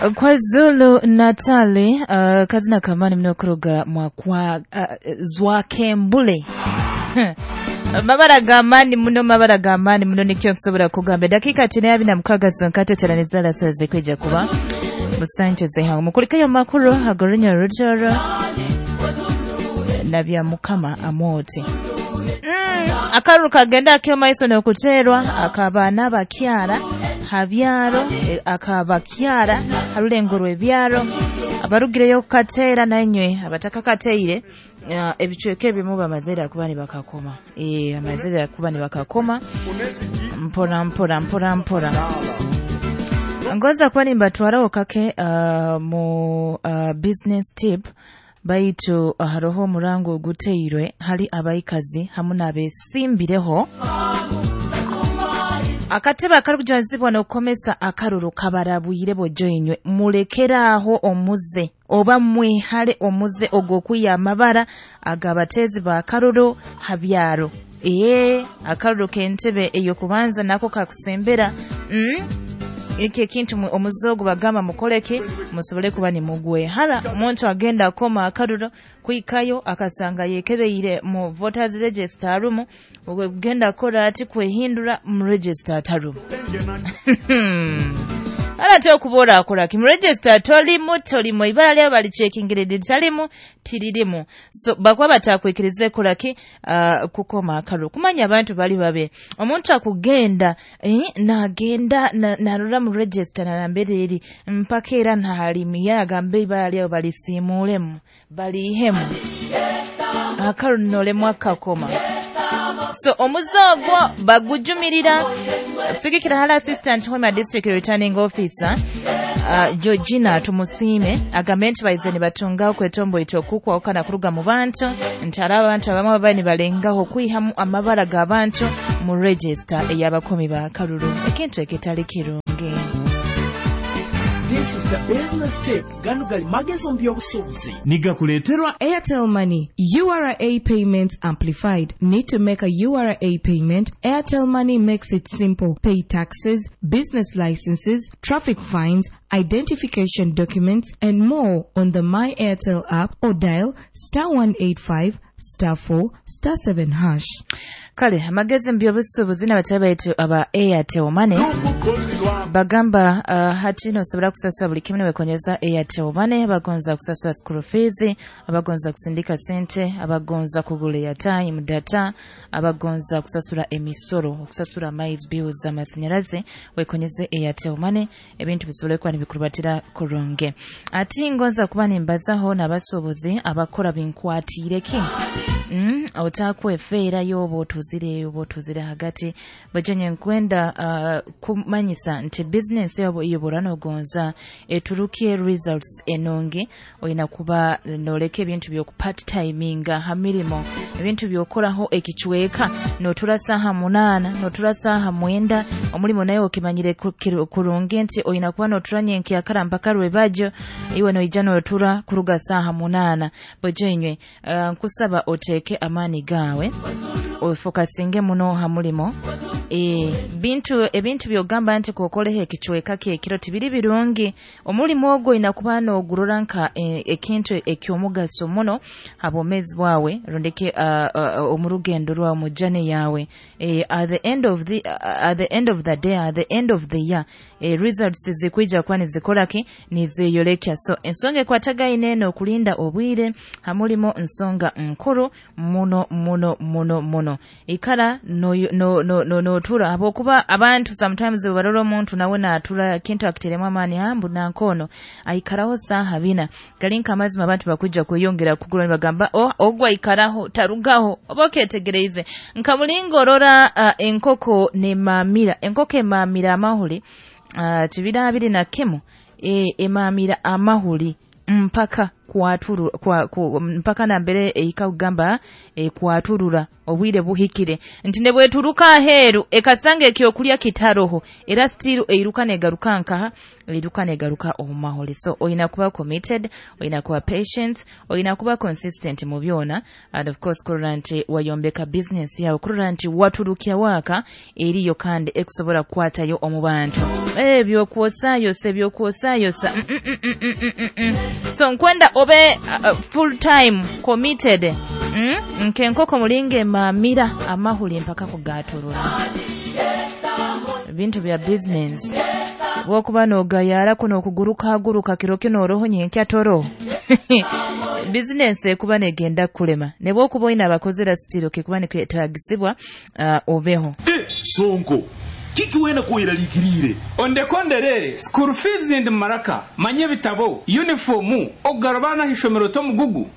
KwaZulu Natali kazina kamani mnokuruga mwakwa Zwakembule. Mabara gamani muno, mabara gamani muno, nikyo nkusobola kugamba. Dakika 46 zonka teranizala saze kwijja kuba musanjeze hangu mukulikayo makuru agorinya rutoro na bya Mukama amoti. Akaruru kagenda akyo maiso n'okuterwa akaba n'abakyara habyaro, akabakyara harulengo rw'ebyaro abarugireyo kukateera nanywe abatakakateire ebicweka ebimu bamazire kuba nibakakoma. Amazire kuba nibakakoma mpora mpora mpora mpora. Ngoza kuba nimbatwaraho kake mu business tip baitu haroho omurango oguteirwe hali abaikazi hamu n'abesimbireho. Akatebe akarikujwanzibwa n'okukomesa akaruru kabarabwire bojoinywe mulekeraaho omuze oba mwihale omuze ogw'okwiya amabara agabatezi ba karuru habyaro. Akaruru k'entebe ey'okubanza nako kakusembera. Iki ekintu omuze ogu bagamba mukoleke musobole kuba nimugwehara. Omuntu agenda akoma akaruru kwikayo akasanga yekebeire mu voters register arumu, ogenda akora ati kwehindura mu register atarumu. Ala okubora akora ki mu register tolimu tolimu ibara lyo bali checkingire talimu tiririmu. So bakuba batakwikirize kolaki kukoma akaruru. Kumanya abantu bali babe omuntu akugenda nagenda narora mu register narambere eri mpaka era ntahalimi yagambe ibara lyo balisimulemu balihemu akaruru nolemu akakoma. So omuzogo bagujumirira sigikira hala assistant Hoima district returning officer Georgina Tumusime agambe nti baize nibatungaho kwetombo itokukwa okana kuruga mu bantu nti hari abantu abamwe babaye nibalengaho kwihamu amabara g'abantu mu register ey'abakomi ba karuru ekintu ekitali kirungi. This is the business tip. Gano gali magezo mu by'obusuubuzi. Nigakuleeterwa Airtel Money URA Payments Amplified. Need to make a URA payment? Airtel Money makes it simple. Pay taxes, business licenses, traffic fines, identification documents, and more on the My Airtel app or dial *185*4*7#. Kale amagezi mu by'obusuubuzi n'abatali baitu aba Airtel Money bagamba hati nosobola kusasula buli kimu niwekonyeza Airtel Money. Abagonza kusasula school fees, abagonza kusindika sente, abagonza kugula airtime data, abagonza kusasula emisoro, okusasula amaizi, bills, amasanyalaze, wekonyeze Airtel Money ebintu bisobole kuba nibikurubatira kurungi. Ati ngonza kuba nimbazaho n'abasuubuzi abakora binkwatiireki. Otakwefeerayo oba otuzire oba otuzire hagati bajonye nkwenda kumanyisa nti business yabo iyobora nogonza eturukie results enungi oyina kuba noleka ebintu byoku part timinga ha mirimo ebintu byokoraho ekicweka notura saha 8 notura saha 9 omulimo naye okimanyire kurungi nti oyina kuba notura nyenkyakara mpaka rwebajo iwe noija notura kuruga saha 8 bojenywe nkusaba oteeke amaani gaawe ofokasinge muno ha mulimo. Bintu ebintu byogamba nti kokoleho ekicweka kyekiro tibiri birungi. Omulimu ogwo oyina kuba nogurora nka ekintu ekyomugaso muno ha bwomeezi bwawe rundeke omu rugendo rwawe mu journey yawe. At the end of the day, at the end of the year, results zikwija kuba nizikoraki nizeyolekya. So ensonga ekwatagaine eno okulinda obwire ha mulimo nsonga nkuru muno muno muno muno. Ikara notura habwokuba abantu sometimes barora omuntu nawe natura kintu akiteremu amaani hambu nankono aikaraho saha 4 gali nka amazima abantu bakujja kweyongera kugura nibagamba oh, ogwo aikaraho tarugaho oba oketegereize nka mulingo orora enkoko nemamira enkoko emamira amahuri 2021 emamira amahuri mpaka. Kwaturu kwa, ku, mpaka nambere ehika kugamba kwaturura obwire buhikire nti nebweturuka aheeru ekasanga ekyokulya kitaroho, era still eiruka negaruka nkaha, eiruka negaruka omu maholi. So oyina kuba committed, oyina kuba patient, oyina kuba consistent mu byona, and of course kurora nti wayombeka business yawe, kurora nti waturukya waaka eriyo kandi ekusobola kukwatayo omu bantu. Ebyokwosayosa, ebyokwosayosa. So nkwenda obe full time committed, Nkenkoko mulinga emaamira amahuli mpaka kugaturura. Ebintu bya business bwokuba nogayarako nokuguruka kiro kino oroho nyenkya toro, business ekuba negenda kulema. Nebwokuba oyina abakozera sitiro kikuba nikwetagisibwa obeho. Sonko, kiki wena kweraliikiriire? Ondekonderere school fees ndi maraka manye ebitabo, uniform, okugara abaana ah'ishomero tomugugu.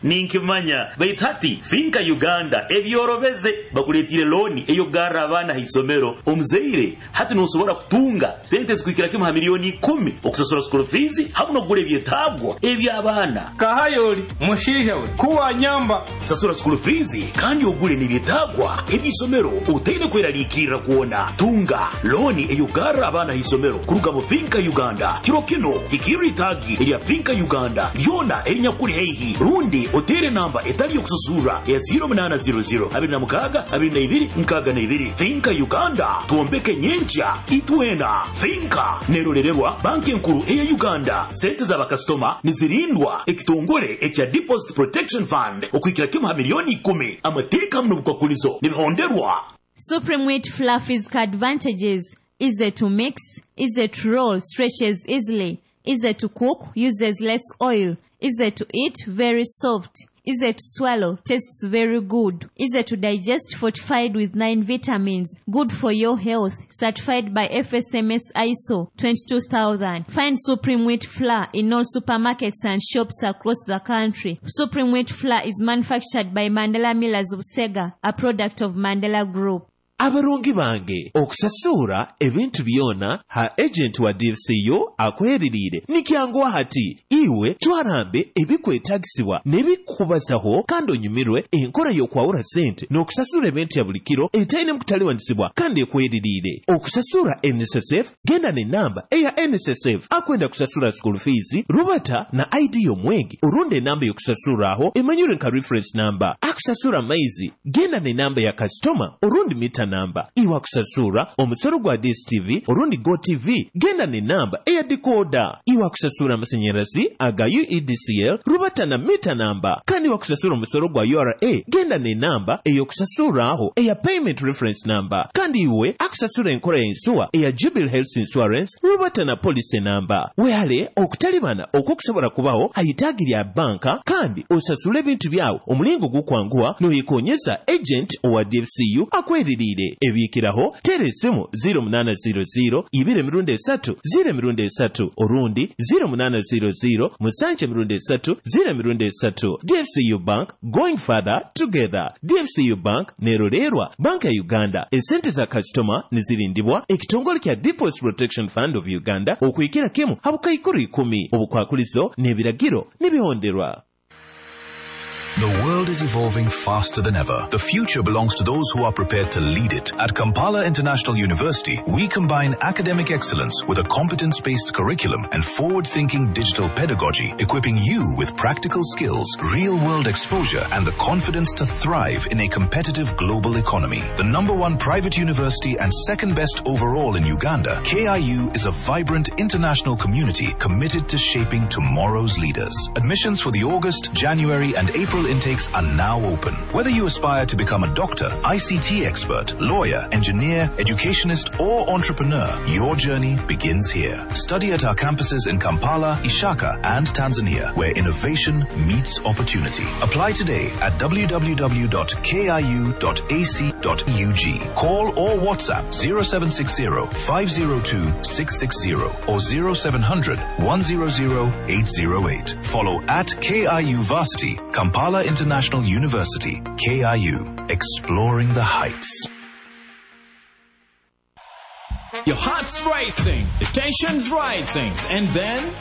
Ninkimanya, baitu hati Finka Uganda ebyorobeze bakuleetire looni ey'okugarra abaana haisomero. Omuzaire hati nosobora kutunga sente zikuhikira kimu ha 10,000,000 okusasura school fees hamu n'okugura ebyetaagwa eby'abaana. Kahayoli mushaija we kuwanyamba. Sasura school fees kandi ogule n'ebyetaagwa eby'isomero otaine kweraliikirra kwona. Tunga looni ey'okugarra abaana haisomero kuruga mu Finka Uganda. Kiro kino hikirra itaagi erya Finka Uganda lyona erinyakuli haihi, rundi otere namba etali yokusasurra ya 0800 26 22 62. Finka Uganda, twombeke nyenkya itwena. Finka nerorererwa banki enkuru eya Uganda. Sente z'abakasitoma nizirindwa ekitongole ekya Deposit Protection Fund okuhikira kimu ha 10,000,000. Amateeka hamu n'obukwakulizo nibihonderwa. Supreme Wheat Fluffy's advantages: easy to mix, easy to roll, stretches easily, easy to cook, uses less oil, easy to eat, very soft, easy to swallow, tastes very good, easy to digest, fortified with 9 vitamins, good for your health, certified by FSMS ISO 22000. Find Supreme Wheat Flour in all supermarkets and shops across the country. Supreme Wheat Flour is manufactured by Mandela Millers of Sega, a product of Mandela Group. Abarungi bange, okusasura ebintu byona ha agent wa DFCU akweririire nikyanguwa hati. Iwe twarambe ebikwetagisibwa n'ebikubazaho kandi onyumirwe enkora y'okwawura sente n'okusasura ebintu ya buli kiro etaine mukutaliwanisibwa kandi ekweririire. Okusasura NSSF, genda n'enamba eya NSSF. Akwenda kusasura school fees, rubata na ID y'omwegi orundi enamba y'okusasuraho emanyirwe nka reference number. Akusasura amaizi, genda n'enamba ya kasitoma orundi mita namba. Iwe akusasura omusoro gwa DSTV orundi Go TV, genda n'enamba eya decoder. Iwe akusasura amasanyarazi aga UEDCL, rubata na mita namba. Kandi iwe akusasura omusoro gwa URA, genda n'enamba ey'okusasuraho eya payment reference number. Kandi iwe akusasura enkora y'ensuwa eya Jubilee Health Insurance, rubata na policy namba. Wehale okutalibana okwokusobola kubaho hayitaagi lya banka kandi osasule ebintu byawe omulingo gukwanguwa noyekonyeza agent owa DFCU akweririire. Ebiikiraho tera esimu 0800 2 3 0 3 orundi 0800 7 3 3. DFCU Bank, going further together. DFCU Bank nerolerwa Banka ya Uganda. Esente za kasitoma nizirindibwa ekitongole kya Deposit Protection Fund of Uganda okuhikira kimu habukaikuru 10. Obukwakulizo n'ebiragiro nibihonderwa. The world is evolving faster than ever. The future belongs to those who are prepared to lead it. At Kampala International University, we combine academic excellence with a competence-based curriculum and forward-thinking digital pedagogy, equipping you with practical skills, real-world exposure, and the confidence to thrive in a competitive global economy. The number one private university and second best overall in Uganda, KIU is a vibrant international community committed to shaping tomorrow's leaders. Admissions for the August, January, and April intakes are now open. Whether you aspire to become a doctor, ICT expert, lawyer, engineer, educationist, or entrepreneur, your journey begins here. Study at our campuses in Kampala, Ishaka, and Tanzania, where innovation meets opportunity. Apply today at www.kiu.ac.ug. Call or WhatsApp 0760 502 660 or 0700 100 808. Follow at KIU Varsity, Kampala International University, KIU, exploring the heights. Your heart's racing, the tension's rising, and then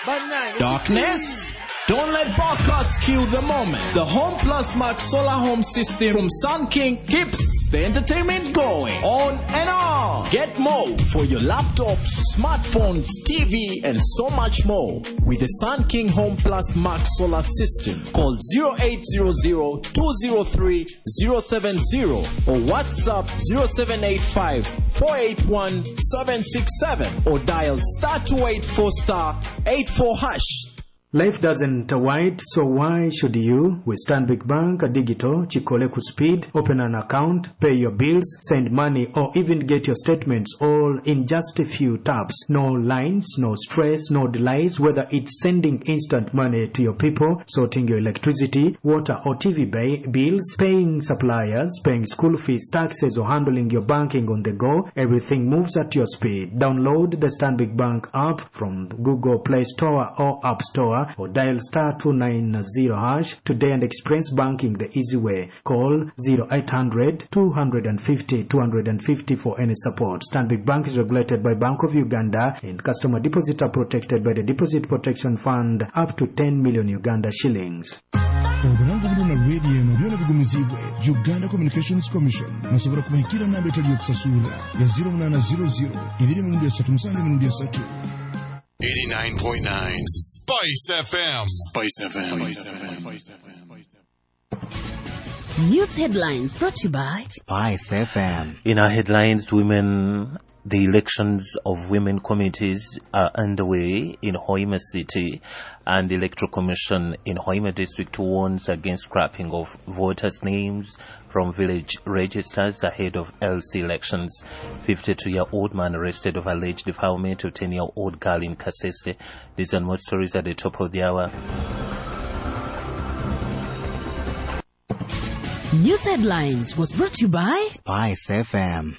Bannange. Darkness? Don't let bar cuts kill the moment. The Home Plus Max Solar Home System from Sun King keeps the entertainment going on and on. Get more for your laptops, smartphones, TV, and so much more with the Sun King Home Plus Max Solar System. Call 0800 203 070 or WhatsApp 0785 481 767 or dial star 284 star 84 hash. Life doesn't wait, so why should you? With Stanbic Bank Digital, Chikole ku speed, open an account, pay your bills, send money, or even get your statements all in just a few taps. No lines, no stress, no delays, whether it's sending instant money to your people, sorting your electricity, water or TV bills, paying suppliers, paying school fees, taxes, or handling your banking on the go, everything moves at your speed. Download the Stanbic Bank app from Google Play Store or App Store or dial star 290 hash today and experience banking the easy way. Call 0800 250 250 for any support. Stanbic Bank is regulated by Bank of Uganda and customer deposits are protected by the Deposit Protection Fund up to 10 million Uganda shillings. Obulango buno na rediyo eno byona bigumizibwe Uganda Communications Commission. Nosobola kubahikira namba etali yokusasulira ya 0800 237 3. 89.9 Spice FM. Spice FM. Spice FM. News headlines brought to you by Spice FM. In our headlines, women, the elections of women committees are underway in Hoima City, and the Electoral Commission in Hoima District warns against scrapping of voters' names from village registers ahead of LC elections. 52-year-old man arrested of alleged defilement of 10-year-old girl in Kasese. These and more stories at the top of the hour. News headlines was brought to you by Spice FM.